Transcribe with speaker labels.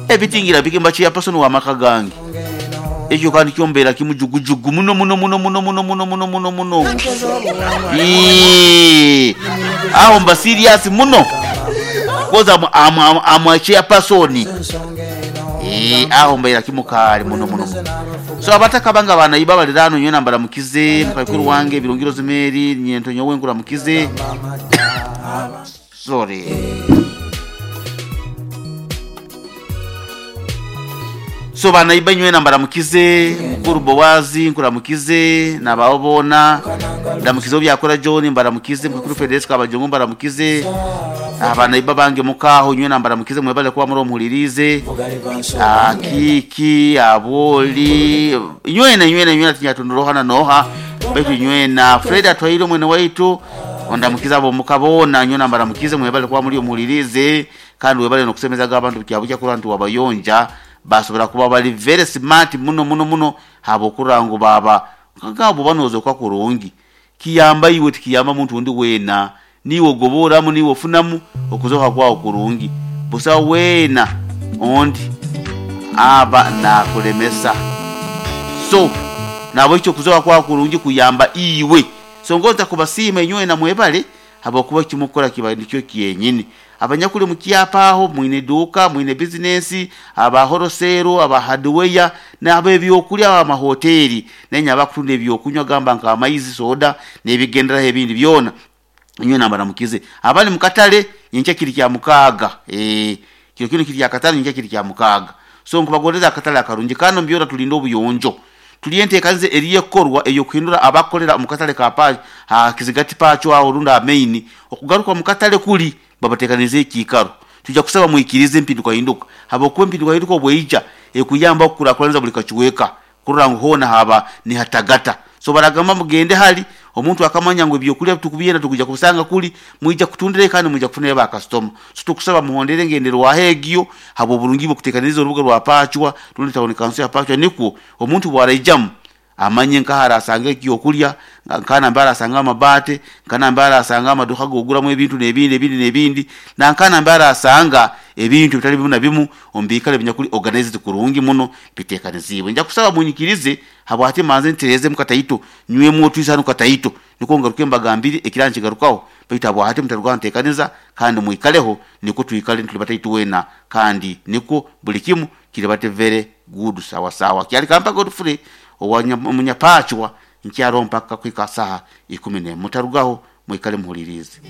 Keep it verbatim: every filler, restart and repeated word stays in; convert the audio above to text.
Speaker 1: Ebitingira bikimba chairperson wa maka gange. Ekyo kandi kyombeera kimujugujugu muno muno muno muno muno muno muno muno muno. Eee, aho mba serious muno. Koza am am am chairperson. Eh, aho mbeera kimukali muno muno. So abataka banga bana iba balirano nyona mbaramukize mukakuru wange birongiro zimeri nyento nyowe nkuramukize. Sorry. So bana iba nywena mbaramukize mukuru Bowazi nkuramukize nababona ndamukize byakora John mbaramukize mukuru Federico abajongo mbaramukize abana iba bange mukaho nywena mbaramukize mwebale kuba muri omuhulirize akiki aboli nywena nywena nywena tinyatundorohana noha betu nywena Fred atwaire mwene waitu ondamukiza abo mukabona nywena mbaramukize mwebale kuba muri omuhulirize kandi webale nokusemezaga abantu kyabukya kurantu wabayonja basobora kuba bali very smart muno muno muno habo kurangu baba ngabo banozo kwa kurungi kiyamba iwe tikiyamba muntu undi wena niwo goboramu niwo funamu okuzoka kwao kurungi busa wena ondi aba nakulemesa so nabo icyo kuzoka kwa kurungi kuyamba iwe so ngoza kubasima inywe na mwebale habo kuba kimukora kiba nicyo kiyenyini abanyakuli mukiapaho mwine duka mwine business aba horosero aba hardware n'abe byokulya aba mahoteli nenya abakutunda ebyokunywa gamba nka amaizi soda nebigendera ebindi byona inywe nambara mukize abali mukatale nyenche kiri kya mukaga eh kiro kino kiri kya katale nyenche kiri kya mukaga so nkubagondeza akatale akarungi kano mbyora tulindo obuyonjo tuliente kanze eriye korwa eyo kuhindura abakolera mukatale ka pa ha kizigati pacho aho runda main okugaruka mukatale kuli babatekanize ekikaro tujja kusaba muikirize empinduka hinduka habo kuba empinduka hinduka obweija ekuyamba okukulakulanza buli kachiweka kurora ngu hona haba ni hatagata so baragamba mugende hali omuntu akamanya ngo ebyokulya tukubyenda tukuja kusanga kuli mwija kutundire kandi mwija kufunira ba customer so tukusaba muhondere ngendero wa hegyo habo burungi bukutekaniza urubuga rwa pachwa rundi tawuni kanso ya pachwa niko omuntu bwaraijamu amanye nkahara asange ekyokulya nkana mbara asanga amabate nkana mbara asanga amaduka goguramu ebintu nebindi ebindi nebindi na nkana mbara asanga ebintu bitali bimu na bimu ombikale binyakuli organized kurungi muno bitekaniziwe nja kusaba munyikirize habo ate manze ntereze mukataito nywe mwotu hano kataito niko ngaruke mbagambiri ekiranchi garukaho baitu abo ate mutaruka ntekaniza kandi muikaleho niko tuikale ntulibata wena kandi niko buli kimu kiribate very good sawa sawa kyali kampa Godfrey omunyapachwa nkyaro mpaka kwika saha ikumi ne mutarugaho mwikale muhulirize.